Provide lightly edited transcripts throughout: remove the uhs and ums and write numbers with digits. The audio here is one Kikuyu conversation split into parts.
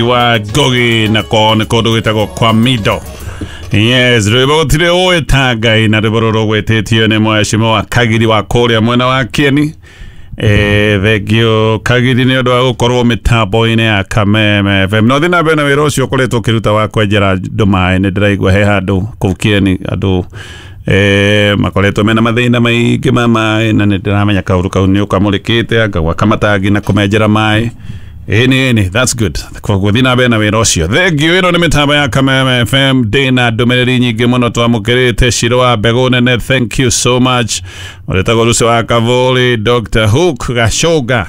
Wa Ngogi na ko nĩ kũndũ gwĩtagwo kwa Mido. Yes, rwĩmbo gũtirĩ ũĩ ta Ngai na rwĩmbo rũrũ rũgwĩtĩtio nĩ mheshimiwa Kagiri wa kũrĩa mwena wa Kieni. Thengio Kagiri nĩ ũndũ wa gũkorwo mĩtambo-inĩ ya Kameme FM. No thiĩ na mbere na wĩra ũcio ũkoretwo ũkĩruta wa kwenjera andũ maĩ. Nĩ ndĩraigua he handũ kũu Kieni andũ makoretwo mena mathĩna maingĩ ma maĩ, na nĩ ndĩramenya kaũndũ kau nĩ ũkamũrĩkĩte anga gwaka matangi na kũmenjera maĩ. Ĩni ĩni, that's good. Koguo thiĩ na mbere na wĩra ũcio. Thengio. Ĩno nĩ mĩtambo ya Kameme FM. Ndĩna ndũmĩrĩri nyingĩ mũno twamũkĩrĩte. Ciro wa mbegũ nene, thank you so much. Ũrĩtagwo Lucy wa Kavuli, Dr. Hook Gashoga,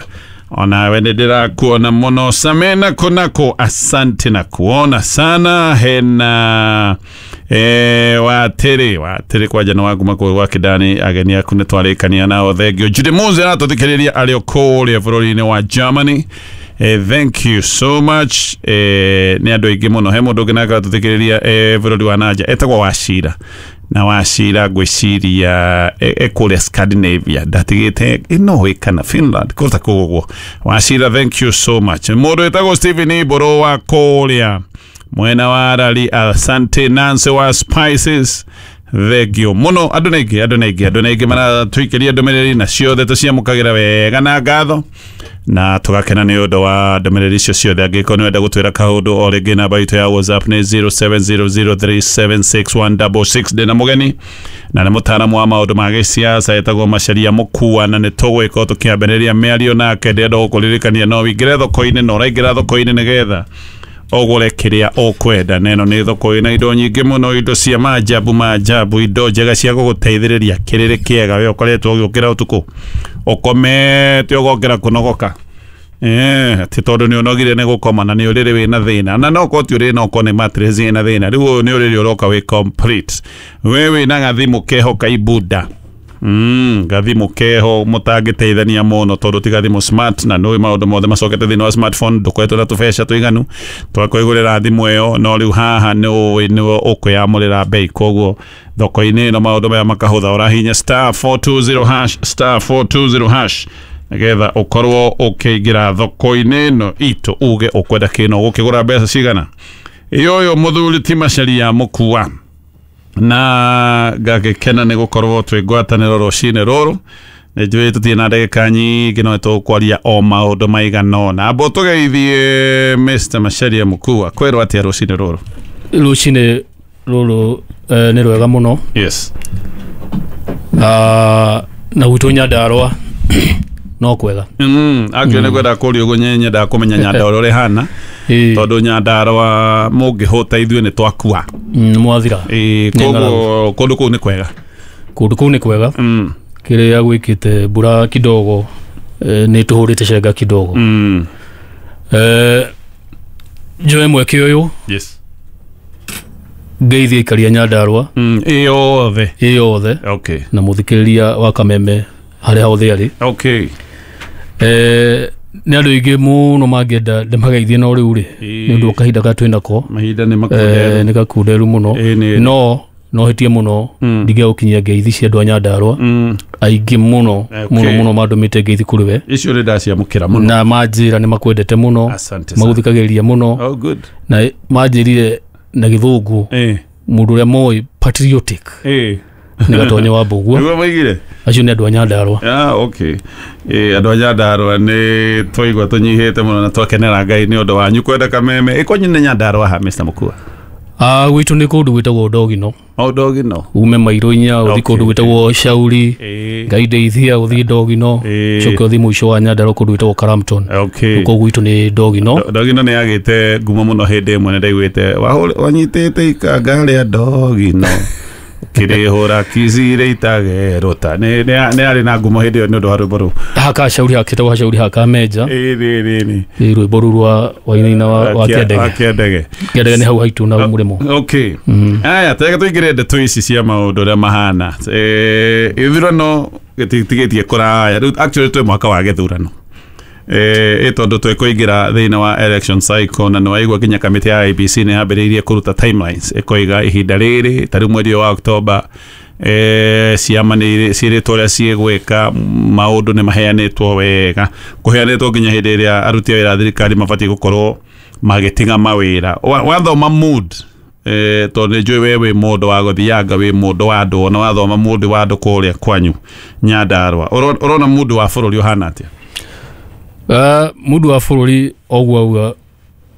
onawe nĩ ndĩrakuona mũno. Samena kunako, asante na kuona sana. Hena watĩrĩ watĩrĩ kwanja nĩ wanguma kũu gwa Kĩndani, ageni aku nĩ twarĩkania nao. Thengio. Judy Muze aratũthikĩrĩria arĩ o kũrĩa bũrũri-inĩ wa Germany. Thank you so much. Nĩ andũ aingĩ mũno. He mũndũ ũngĩ nake aratũthikĩrĩria bũrũri wa nanja etagwo Wacira, na Wacira ngwĩciria ekũrĩa Scandinavia, ndatigĩte Norway kana Finland kũta kũu ũguo. Wacira, thank you so much. Mũndũ wĩtagwo Stephen Ibũrũ wa kũrĩa mwena wa Rari, asante. Nancy wa Spices, thengio mũno. Andũ nĩ aingĩ, andũ nĩ aingĩ, andũ nĩ aingĩ maratũikĩria ndũmĩrĩri, na ciothe tũciamũkagĩra wega na ngatho na tũgakena nĩ ũndũ wa ndũmĩrĩri icio ciothe. Angĩkorwo nĩ wenda gũtwĩra kaũndũ o rĩngĩ, namba itũ ya WhatsApp nĩ 0700376166. Ndĩna mũgeni na nĩ mũtaaramu wa maũndũ ma gĩsiasa etagwo Macharia Mũkua, na nĩ tũgwĩkorwo tũkĩambĩrĩria mĩario nake. Ndĩrenda gũkũririkania no wĩingĩre thoko-inĩ, na ũraingĩra thoko-inĩ nĩgetha ũgũre kĩrĩa ũkwenda, na ĩno nĩ thoko ĩna indo nyingĩ mũno, indo cia maajabu maajabu, indo njega cia gũgũteithĩrĩria kĩrĩrĩ kĩega. We ũkoretwo ũgĩũkĩra ũtukũ ũkomete ũgokĩra kũnogoka, atĩ tondũ nĩ ũnogire nĩ gũkoma, na nĩ ũrĩrĩ wĩna thĩna, na no korwo ti ũrĩrĩ, no korwo nĩ mattress ĩna thĩna. Rĩu ũyũ nĩ ũrĩrĩ ũroka wĩ complete. We wĩna gathimũ keho kaibuda, gathimũ keho mũtangĩteithania mũno tondũ ti gathimũ smart, na nũĩ maũndũ mothe macokete thĩinĩ wa smartphone. Ndũkoretwo na tũbeca tũiganu twa kwĩgũrĩra thimũ ĩyo, no rĩu haha nĩ ũĩ nĩwe ũkwĩamũrĩra bei. Koguo thoko-inĩ ĩno maũndũ maya makahũtha. Ũrahinya *420#, *420# nĩgetha ũkorwo ũkĩingĩra thoko-inĩ ĩno itũ, uge ũkwenda kĩno ũgũkĩgũra mbeca cigana. Ĩ ũyũ mũthuri ti Macharia Mũkua, na ngagĩkena nĩ gũkorwo twĩ ngwatanĩro rũcinĩ rũrũ. Nĩ njũĩ tũtirĩ na ndagĩka nyingĩ, no tũkwaria o maũndũ maigana ũna. Amba tũgeithie Mr. Macharia Mũkua. Kwĩrwo atĩa rũcinĩ rũrũ? Rũcinĩ rũrũ nĩ rwega mũno. Na gwitũ Nyandarũa no kwega. Akĩo nĩ kwenda kũria ũguo, nyendaga kũmenya Nyandarũa ũrĩa ĩhana, tondũ Nyandarũa mũngĩhũta ithuĩ nĩ twakua. Nĩ mwathira. Ĩ, Nĩ. Koguo kũndũ kũu nĩ kwega? Kũndũ kũu nĩ kwega. Kĩrĩa gwĩkĩte mbura kidogo, nĩ tũhũrĩte cenga kidogo. Njoe mweke ũyũ ngeithie aikaria Nyandarũa Ĩ yothe? Ĩ yothe na mũthikĩrĩria wa Kameme harĩa hothe arĩ. Nĩ andũ aingĩ mũno mangĩenda ndĩmageithie, no rĩu rĩ, nĩ ũndũ wa kahinda karĩa twĩnako, Mahinda nĩ makunderu. Nĩ gakunderu mũno. Ĩ, nĩ. No hĩtie mũno ndingĩaga gũkinyia ngeithi cia andũ a Nyandarũa aingĩ mũno mũno mũno mandũmĩte ngeithi kũrĩ we. Icio nĩ ndaciamũkĩra mũno. Na manjĩra nĩ makwendete mũno, Asante sana. magũthikagĩrĩria mũno. Oh, good. Na manjĩrire na Gĩthũngũ mũndũ ũrĩa moĩ patriotic nĩ Gatonye wa Mbũgua. Nĩguo maigire? Acio nĩ andũ a Nyandarũa. Ah, okay. Andũ a Nyandarũa nĩ twaigua tũnyihĩte mũno na twakenera Ngai nĩ ũndũ wanyu kwenda Kameme. Ĩ kwanyu nĩ Nyandarũa ha, Mr. Mũkua? Ah, gwitũ nĩ kũndũ gwĩtagwo Ndogino. O Ndogino. Ume mairo inya ũthiĩ kũndũ gwĩtagwo Shauri. Ngai ndeithia, ũthiĩ Ndogino, coke ũthiĩ mũico wa Nyandarũa kũndũ gwĩtagwo Karamton. Kũu gwitũ nĩ Ndogino. Ndogino nĩ yagĩte ngumo mũno. Hĩndĩ ĩmwe nĩ ndaiguĩte wanyitĩte ikanga rĩa Ndogino kĩrĩhũra kicire itagerũta. Nĩ yarĩ na ngumo hĩndĩ ĩyo nĩ ũndũ wa rwĩmbo rũu. Haka Shauri hakĩtagwo Hashauri haka Menja. Ĩ, nĩ nĩ nĩ Ĩ, rwĩmbo rũu rwa wainaina wa Kĩandege. Wa Kĩandege. Kĩandege nĩ hau haitũ na mũrĩmo. Okay, aya tega tũingĩre ndeto ici cia maũndũ ũrĩa mahana. Ithurano gĩtitigĩtie kũraya rĩu. Actually twĩ mwaka wa gĩthurano, ĩ tondũ twĩkũingĩra thĩinĩ wa election cycle, na nĩwaigua nginya kamĩtĩ ya IEBC nĩ yambĩrĩirie kũruta timelines, ĩkoiga ihinda rĩrĩ ta rĩu mweri ũyũ wa October, ciama nĩ ciĩrĩtwo ũrĩa ciĩgwĩka. Maũndũ nĩ maheanĩtwo wega, kũheanĩtwo nginya hĩndĩ ĩrĩa aruti a wĩra a thirikari mabatiĩ gũkorwo Magĩtiga mawĩra. Wathoma mood, tondũ nĩ njũĩ we wĩ mũndũ wa gũthianga, wĩ mũndũ wa andũ, ona wathoma mũndũ wa andũ kũrĩa kwanyu Nyandarũa, ũrona mũndũ wa bũrũri ũhana atĩa? Mũndũ wa bũrũri oguo auga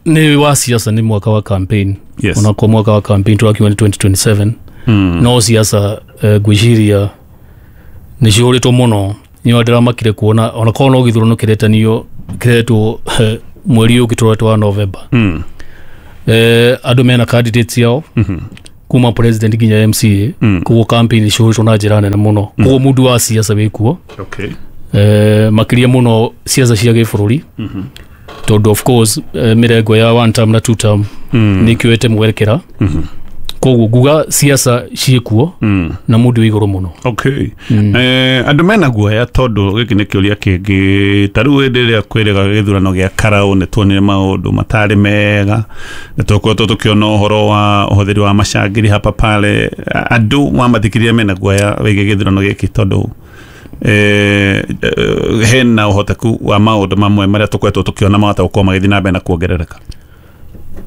nĩ wa siasa, nĩ mwaka wa campaign. Yes. Onakorwo mwaka wa campaign tũrakiuga nĩ 2027, no siasa, ngwĩciria nĩ cihũrĩtwo mũno. Nĩo ndĩramakire kuona onakorwo no gĩthurano kĩretanio kĩretwo mweri ũyũ ũngĩ wa November. Andũ mena candidates yao kuma president nginya MCA. Koguo campaign cihũrĩtwo na njĩra nene mũno. Koguo mũndũ wa siasa wĩkuo. Okay. Makĩria mũno siasa cia gĩbũrũri, tondũ of course, mĩrengo ya one term na two term nĩ ĩkĩoete mwerekera. Koguo nguga siasa ciĩkuo na mũndũ wĩ igũrũ mũno. Okay. Andũ mena guoya, tondũ gĩkĩ nĩ kĩũria kĩngĩ. Ta rĩu hĩndĩ ĩrĩa kwĩrĩga gĩthurano gĩa karaũ, nĩ tuonire maũndũ matarĩ mega, nĩ tũkoretwo tũkĩona ũhoro wa ũhũthĩri wa macangiri hapa pale. Andũ mamathikĩrĩria mena guoya wĩgiĩ gĩthurano gĩkĩ, tondũ hena ũhoteku wa maũndũ mamwe marĩa tũkoretwo tũkĩona mahota gũkorwo magĩthiĩ na mbere na kuongerereka.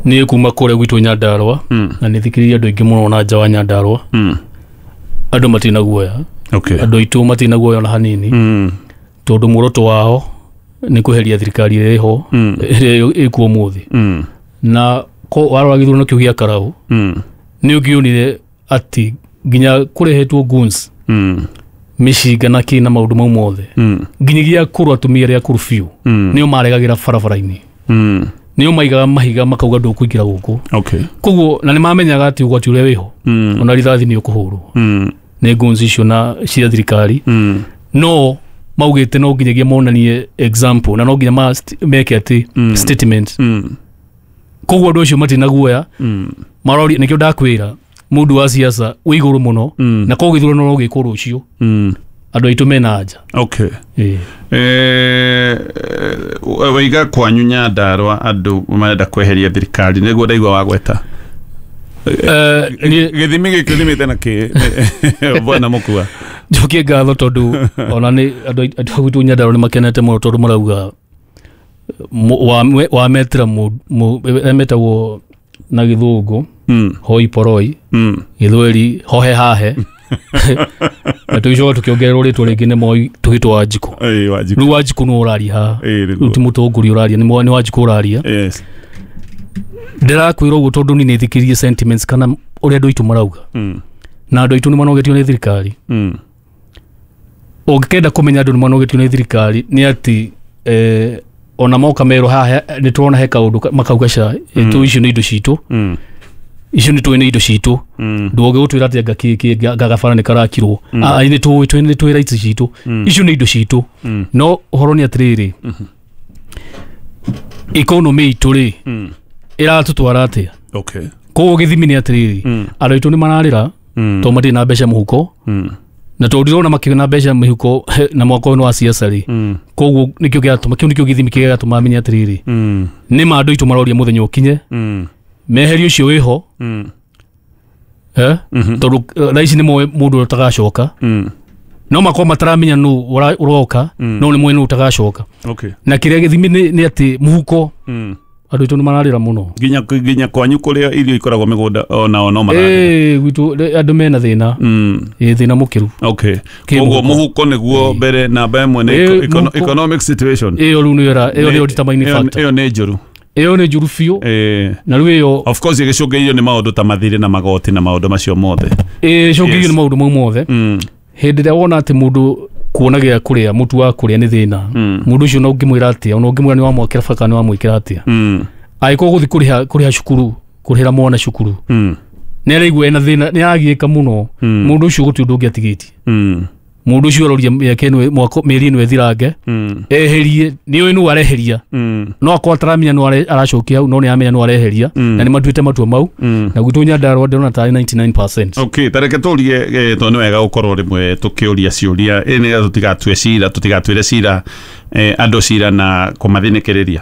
Niĩ kuma kũrĩa gwitũ Nyandarũa, na nĩ thikĩrĩria andũ aingĩ mũno na nja wa Nyandarũa, andũ matirĩ guoya. Andũ aitũ matirĩ guoya ona hanini, tondũ muoroto wao nĩ kweheria thirikari ĩrĩa ĩho, ĩrĩa ĩkuo ũmũthĩ. Na warora gĩthurano kĩu gĩa karaũ, nĩ ũngĩonire atĩ nginya kũrehetwo guns, mĩcinga na kĩ na maũndũ mau mothe, nginyagia akũrũ, atumia arĩa akũrũ biũ, nĩo maregagĩra barabara-inĩ, nĩo maigaga mahiga makauga ndũkũingĩra gũkũ. Koguo na nĩ mamenyaga atĩ ũgwati ũrĩa wĩho, ona rithathi nĩ ũkũhũrwo nĩ guns icio na cia thirikari, no maugĩte no nginyagia monanie example na no nginya meke atĩ statement. Koguo andũ acio matirĩ na guoya. Maroria nĩkĩo ndakwĩra mũndũ wa siasa wĩ igũrũ mũno. Na koguo gĩthurano no gĩkwo rũciũ, andũ aitũ mena anja. Okay. Waiga kwanyu Nyandarũa andũ marenda kweheria thirikari, nĩguo ndaigua wagweta? Gĩthimi gĩkĩ ũthimĩte na kĩ, bwana Mũkua? Njokie ngatho, tondũ ona nĩ andũ a gwitũ Nyandarũa nĩ makenete mũno, tondũ marauga wametĩra metagwo na gĩthũngũ hoi poroi, gĩthweri hohe hahe, na tũgĩcoka tũkĩongererwo rĩtwa rĩngĩ nĩ Moi tũgĩtwo Wanjikũ. Ĩĩ, Wanjikũ. Rĩu Wanjikũ nĩ ũraria haha. Nĩguo. Rĩu ti mũtongoria ũraria, nĩ Wanjikũ ũraria. Ndĩrakwĩra ũguo tondũ niĩ nĩ thikĩrĩrie sentiments kana ũrĩa andũ aitũ marauga, na andũ aitũ nĩ manogetio nĩ thirikari. Ũngĩkenda kũmenya andũ nĩ manogetio nĩ thirikari nĩ atĩ, ona moka merwo haha nĩ tũrona he kaũndũ, makauga ca tũ icio nĩ indo citũ, icio nĩ tũĩ nĩ indo citũ, ndũngĩ gũtwĩra atĩ anga kĩ gagabara nĩ karakirwo. Ah, nĩ tũĩ nĩ tũĩ rights citũ, icio nĩ indo citũ. No ũhoro nĩ atĩrĩrĩ, economy itũ rĩ, ĩratũtwara atĩa? Koguo gĩthimi nĩ atĩrĩrĩ, andũ aitũ nĩ mararĩra tondũ matirĩ na mbeca mũhuko, na tondũ ndirona makĩona mbeca mĩhuko na mwaka ũyũ nĩ wa siasa rĩ, koguo nĩkĩo kĩratũma, kĩu nĩkĩo gĩthimi kĩrĩa gĩratũma menye atĩrĩrĩ, nĩ ma andũ aitũ maroria mũthenya ũkinye meherie ũcio wĩho, tondũ thaa ici nĩ moĩ mũndũ ũrĩa ũtagacoka. No makorwo mataramenya nũ ũroka, no nĩ moĩ nũ ũtagacoka. Na kĩrĩa gĩthimi nĩ atĩ mũhuko, andũ aitũ nĩ mararĩra mũno. Nginya kwanyu kũrĩa irio ikoragwo mĩgũnda onao no mararĩra? Ĩĩ, gwitũ andũ mena thĩna. Ĩĩ, thĩna mũkĩru. Koguo Kĩmũhuko. Mũhuko nĩguo mbere namba ĩmwe nĩ Mũhuko. economic situation. Ĩyo rĩu nĩyo ĩyo nĩyo determining factor. Ĩyo nĩ njũru. Ĩyo nĩ njũru biũ. Na rĩu ĩyo Of course ĩgĩcũngĩrĩirio nĩ maũndũ ta mathirĩ na magoti na maũndũ macio mothe. Ĩcũngĩrĩirio nĩ maũndũ mau mothe. Hĩndĩ ĩrĩa wona atĩ mũndũ kuona gĩa kũrĩa, mũtu wa kũrĩa nĩ thĩna, mũndũ ũcio ona ũngĩmwĩra atĩa, ona ũngĩmwĩra nĩ wamwakĩra baka, nĩ wamwĩkĩra atĩa, angĩkorwo gũthiĩ kũrĩha cukuru, kũrĩhĩra mwana cukuru, nĩ araigua ena thĩna, nĩ aragiĩka mũno, mũndũ ũcio gũtirĩ ũndũ ũngĩ atigĩtie. Mũndũ ũcio aroria mĩaka ĩno, mwaka, mĩeri ĩno ĩthirange, eherie nĩ ũĩ nũ areheria. No akorwo ataramenya nũ aracokia hau, no nĩ aramenya nũ areheria, na nĩ matuĩte matua mau. Na gwitũ Nyandarũa ndĩrona tarĩ 99%. Okay, tareke tũrie, tondũ nĩ wega gũkorwo rĩmwe tũkĩũria ciũria, nĩgetha tũtigatue cira, tũtigatuĩre cira, andũ cira na kũmathinĩkĩrĩria.